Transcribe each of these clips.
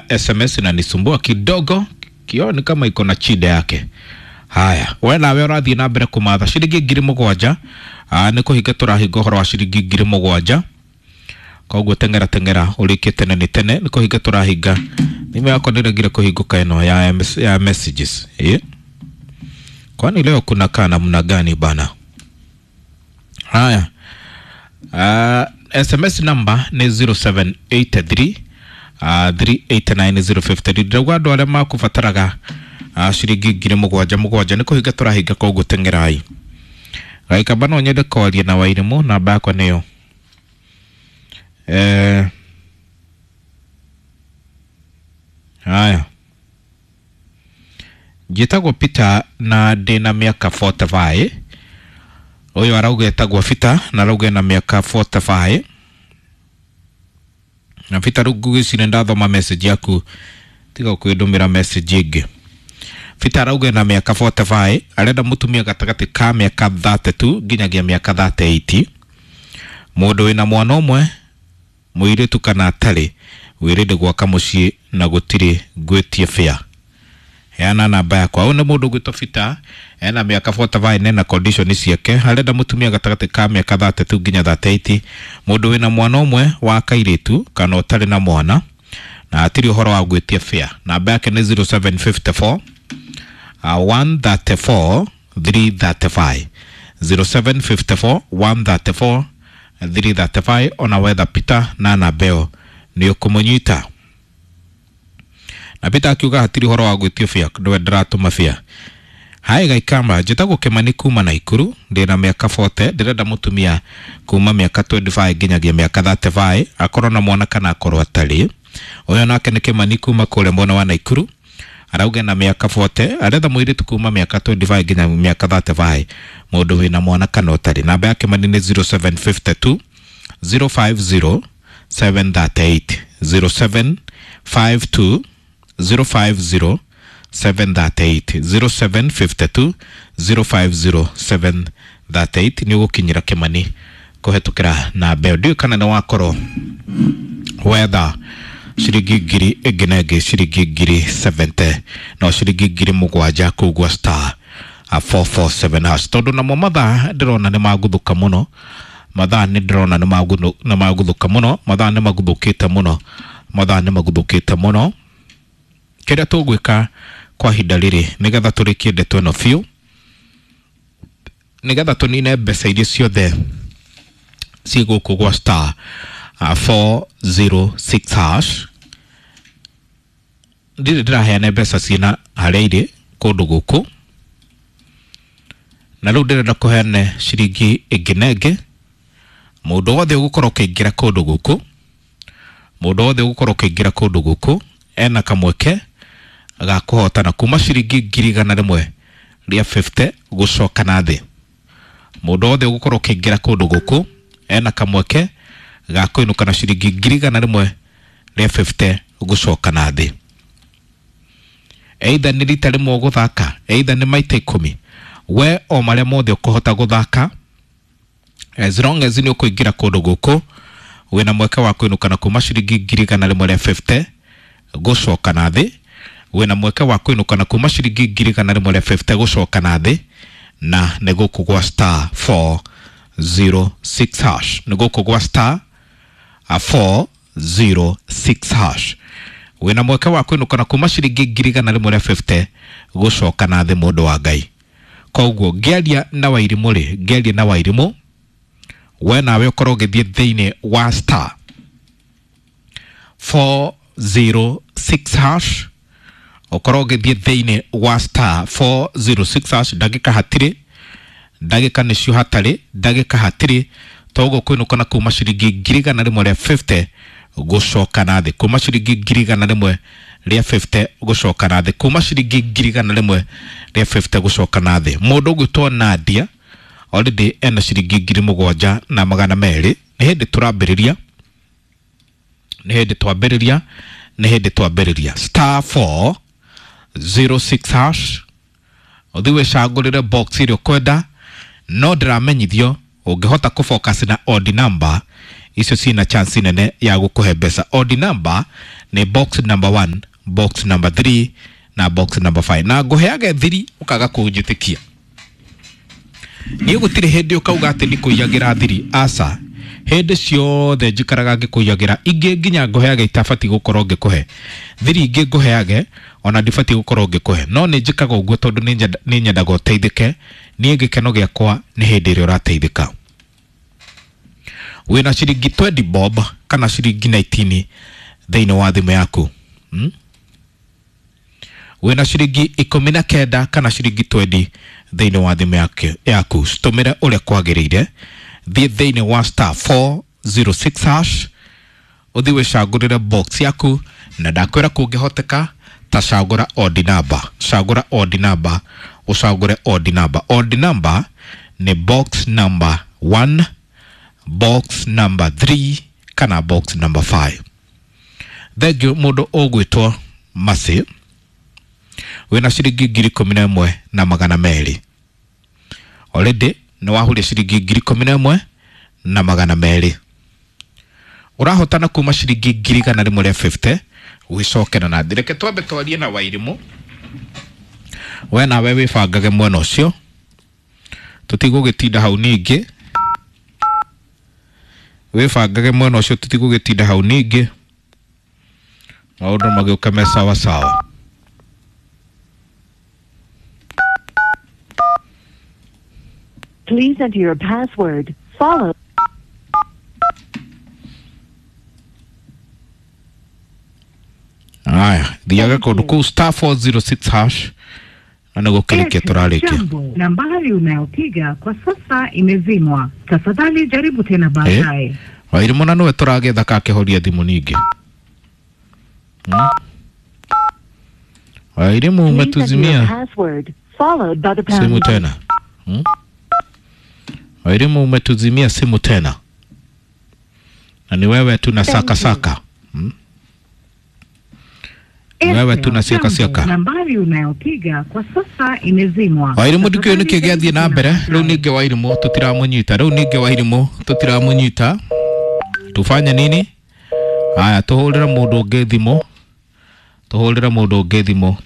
SMS inanisumbua kidogo, kioni kama iko na chida yake. Haya, we nawe ũrathiĩ na mbere kũmatha ciringi 7,000. Nĩ kũhinga tũrahinga ũhoro wa ciringi 7,000. Koguo teng'era teng'era ũrĩkie tene nĩ tene, nĩ kũhinga tũrahinga. Thimũ yakwa ndĩregire kũhingũka ĩno ya messages. Kwani leo kuna kaa namna gani bana? Haya. SMS number nĩ 0783 389053. Ndĩrauga andũ arĩa makũbataraga ciringi 7,000 7,000 nĩ kũhinga tũrahinga, koguo teng'erai. Gaikamba no nyende kwaria na Wairimũ, namba yakwa nĩyo haya, njĩtagwo Peter na ndĩna mĩaka 45. Ũyũ arauga etagwo Peter na arauga ena mĩaka 45. Na Peter, rĩu ngũgĩciria ndathoma message yaku, tiga kwĩndũmĩra message ĩngĩ. Peter arauga ena mĩaka 45, arenda mũtumia gatagatĩ ka mĩaka 32 nginyagia mĩaka 38, mũndũ wĩna mwana ũmwe mũirĩtu kana atarĩ, wĩrĩndĩ gwaka mũciĩ na gũtirĩ ngwĩtie fare. Heana namba yakwa. Ũyũ nĩ mũndũ ũgwĩtwo Peter, ena mĩaka 45 na ena condition ciake, arenda mũtumia gatagatĩ ka mĩaka 32 nginya 38, mũndũ wĩna mwana ũmwe wa kairĩtu kana ũtarĩ na mwana, na hatirĩ ũhoro wa gwĩtia fare. Namba yake nĩ 0754 134 335, 0754 134 335. Ona wetha Peter na namba ĩyo nĩ ũkũmũnyita. Na Peter akiuga hatirĩ ũhoro wa gwĩtio fare, ndwe ndĩratũma fare. Hai Gaikamba, njĩtagwo Kĩmani kuma Naikuru, ndĩna mĩaka 40, ndĩrenda mũtumia kuma mĩaka 25 nginyagia mĩaka 35, akorwo na mwana kana akorwo atarĩ. Ũyũ nake nĩ Kĩmani kuma kũrĩa mwena wa Naikuru, arauga na mĩaka 40, aretha mũirĩtu kuma mĩaka 25 nginya mĩaka 35, mũndũ wĩna mwana kana ũtarĩ. Namba ya Kĩmani nĩ 0752 050 738, 0752 050 738, 0752 050 738. Nĩ ũgũkinyĩra Kĩmani kũhetũkĩra namba ĩyo. Ndiũĩ kana nĩ wakorwo wetha ciringi ngiri ĩngĩ na ĩngĩ, ciringi 70,000, no ciringi 7,000 kũu gwa star 447 hash, tondũ namo mathaa ndĩrona nĩ maguthũka mũno. Mathaa nĩ ndĩrona nĩ maguthũka mũno, mathaa nĩ maguthũkĩte mũno, mathaa nĩ maguthũkĩte mũno. Kĩrĩa tũgwĩka kwa ihinda rĩrĩ nĩgetha tũrĩkie ndeto ĩno biũ, nĩgetha tũnine mbeca iria ciothe ciĩ gũkũ gwa star 406 hash, ndirĩ ndĩraheana mbeca ciĩna harĩa irĩ kũndũ gũkũ, na rĩu ndĩrenda kũheana ciringi ĩngĩ na ĩngĩ. Mũndũ wothe ũgũkorwo ũkĩingĩra kũndũ gũkũ, mũndũ wothe ũgũkorwo ũkĩingĩra kũndũ gũkũ ena kamweke ga kũhotana kuma ciringi 150,000 gũcoka na thĩ. Mũndũ wothe ũgũkorwo ũkĩingĩra kũndũ gũkũ ena kamweke ga kũinũka na ciringi 150,000 gũcoka na thĩ. Either nĩ rita rĩmwe ũgũthaka, either nĩ maita 10, we o marĩa mothe ũkũhota gũthaka, as long as nĩ ũkũingĩra kũndũ gũkũ, wĩna mweke wa kũinũka na kuma ciringi 150,000 gũcoka na thĩ. Wĩna mweke wa kũinũka na kuma ciringi 150,000 gũcoka na thĩ, na nĩ gũkũ gwa star 406 hash, nĩ gũkũ gwa star 406 hash. Wĩna mweke wa kũinũka na kuma ciringi 150,000 gũcoka na thĩ, mũndũ wa Ngai. Koguo ngĩaria na Wairimũ rĩ, ngĩaria na Wairimũ, we nawe ũkorwo ũgĩthiĩ thĩinĩ wa star 406 hash, ũkorwo ũgĩthiĩ thĩinĩ wa star 406 hash. Ndagĩka hatirĩ, ndagĩka nĩcio hatarĩ, ndagĩka hatirĩ. Toguo kũinũka na kuma ciringi 150,000 gũcoka na thĩ, kuma ciringi 150,000 gũcoka na thĩ, kuma ciringi 150,000 gũcoka na thĩ. Mũndũ ũgwĩtwo Nadia already ena ciringi 7,200. Nĩ hĩndĩ tũrambĩrĩria, nĩ hĩndĩ twambĩrĩria, nĩ hĩndĩ twambĩrĩria. Star 406 hash, ũthiĩ wĩcagũrĩre box ĩrĩa ũkwenda, no ndĩramenyithio ũngĩhota kũfocus na odd number Icio ciĩna chance nene ya gũkũhe mbeca. Odd number nĩ box number 1, box number 3 na box number 5. Na ngũheage thiri ũkaga kũnjĩtĩkia. Niĩ gũtirĩ hĩndĩ ũkauga atĩ ndikũiyagĩra thiri, aca. Hĩndĩ ciothe njikaraga ngĩkũiyagĩra, ingĩ nginya ngũheage itabatiĩ gũkorwo ngĩkũhe. Thiri ingĩ ngũheage ona ndibatiĩ gũkorwo ngĩkũhe, no nĩ njĩkaga ũguo tondũ nĩ nyendaga ũteithĩke. Niĩ gĩkeno gĩakwa nĩ hĩndĩ ĩrĩa ũrateithĩka. Wĩna ciringi 20 bob kana ciringi 19 thĩinĩ wa thimũ yaku. Wĩna ciringi 19 kana ciringi 20 thĩinĩ wa thimũ yaku. Citũmĩre ũrĩa kwagĩrĩire. Thiĩ thĩinĩ wa star 406 hash, ũthiĩ wĩcagũrĩre box yaku, na ndakwĩra kũngĩhoteka ta cagũra odd number. Cagũra odd number, ũcagũre odd number. Odd number nĩ box number 1, box number 3 kana box number 5. Thengiũ mũndũ ũgwĩtwo Mercy, wĩna ciringi 11,200. Already nĩ wahuria ciringi 11,200. Ũrahotana kuma ciringi 150,000 gwĩcokera na thĩ. Reke twambe twarie na Wairimũ, we nawe wĩbangage mwena ũcio, tũtigũgĩtinda hau ningĩ. Wĩbangage mwena ũcio, tũtigũgĩtinda hau ningĩ, maũndũ magĩũke me sawa sawa. Please enter your password, followed. Aya, thiaga kũndũ kũu star 406 hash na nĩ gũkĩrĩkia tũrarĩkia. Jambo, nambari unayopiga kwa sasa imezimwa. Tafadhali jaribu tena baadaye. Wairimũ na nĩwe tũragetha kakĩhoria thimũ ningĩ. Wairimũ Please enter your umetuzimia password, followed by the pound simu key. tena. Wairimũ umetuzimia simu tena, na ni wewe tu na saka saka. Wewe tu na siaka Jambo, siaka. Nambari unayopiga kwa sasa imezimwa. Wairimũ ndikĩũĩ nĩkĩ Tafadhali gĩathiĩ na jaribu mbere. tena Rĩu baadaye. ningĩ Wairimũ tũtiramũnyita, rĩu ningĩ Wairimũ tũtiramũnyita, tufanye nini? Haya, tũhũrĩre mũndũ ũngĩ thimũ, tũhũrĩre mũndũ ũngĩ thimũ.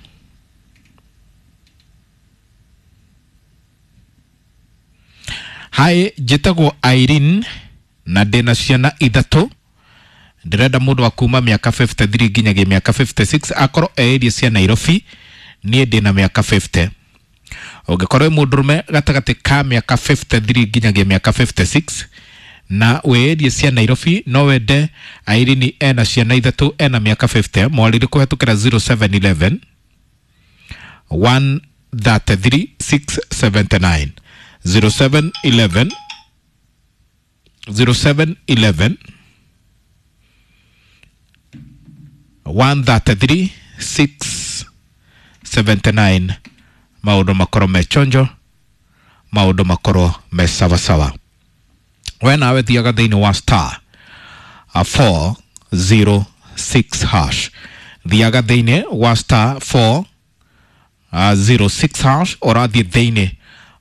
Hi, njĩtagwo Irene na ndĩna ciana ithatũ. Ndĩrenda mũndũ wa kuma mĩaka 53 nginyagia mĩaka 56, akorwo e area cia Nairobi. Niĩ ndĩna mĩaka 50. Ũngĩkorwo wĩ mũndũrũme gatagatĩ ka mĩaka 53 nginyagia mĩaka 56 na wĩ area cia Nairobi, no wende Irene ena ciana ithatũ, ena mĩaka 50, mwarĩrie kũhetũkĩra 0711 133 679, 0711 0711 133 679. Maũndũ makorwo me chonjo, maũndũ makorwo me sawasawa. We nawe thiaga thĩinĩ wa star 406 hash, thiaga thĩinĩ wa star 406 hash, ũrathiĩ thĩinĩ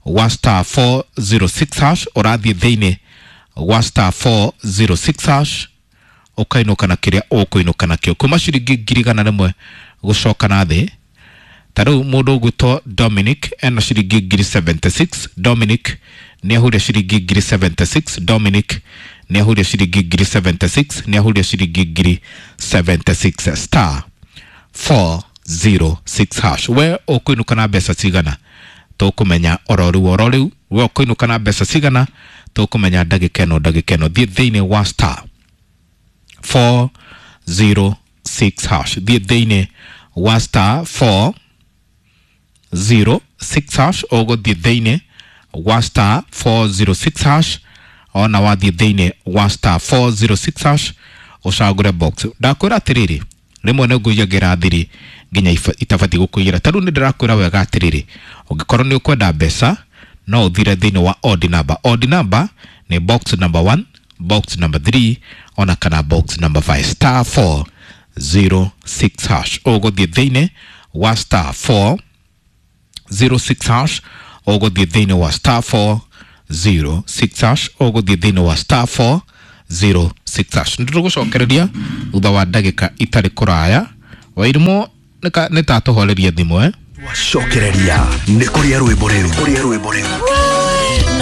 wa star 406 hash, ũrathiĩ thĩinĩ wa star 406 hash, ũkainũka na kĩrĩa ũkũinũka nakĩo kuma ciringi 100,000 gũcoka na thĩ. Ta rĩu mũndũ ũgwĩtwo Dominic ena ciringi 76,000. Dominic nĩ ahuria ciringi 76,000. Dominic nĩ ahuria ciringi 76,000, nĩ ahuria ciringi 76,000, star 406 hash. We ũkũinũka na mbeca cigana? Tũkũmenya oro rĩu oro rĩu. We ũkũinũka na mbeca cigana? Tũkũmenya ndagĩka ĩno ndagĩka ĩno. Thiĩ thĩinĩ wa star 406 hash, thiĩ thĩinĩ wa star 406 hash, ũgũthiĩ thĩinĩ wa star 406 hash. Ona wathiĩ thĩinĩ wa star 406 hash ũcagũre box. Ndakwĩra atĩrĩrĩ, rĩmwe nĩ ngũiyagĩra thiri nginya itabatiĩ gũkũiyĩra. Ta rĩu nĩ ndĩrakwĩra wega atĩrĩrĩ, ũngĩkorwo nĩ ũkwenda mbeca no ũthire thĩinĩ wa odd number. Odd number nĩ box number 1, box number 3 ona kana box number 5, star 406 hash. Ũgũthiĩ thĩinĩ wa star 406 hash, ũgũthiĩ thĩinĩ wa star 406 hash, ũgũthiĩ thĩinĩ wa star 06 hash. Nĩtũgũcokereria thutha wa ndagĩka itarĩ kũraya. Wairimu nĩ ta tũhorerie thimũ eh? Twacokereria nĩ kũrĩa rwĩmbo rĩu, kũrĩa rwĩmbo rĩu.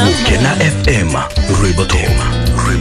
Gũkena FM, rwĩmbo top, rwĩmbo.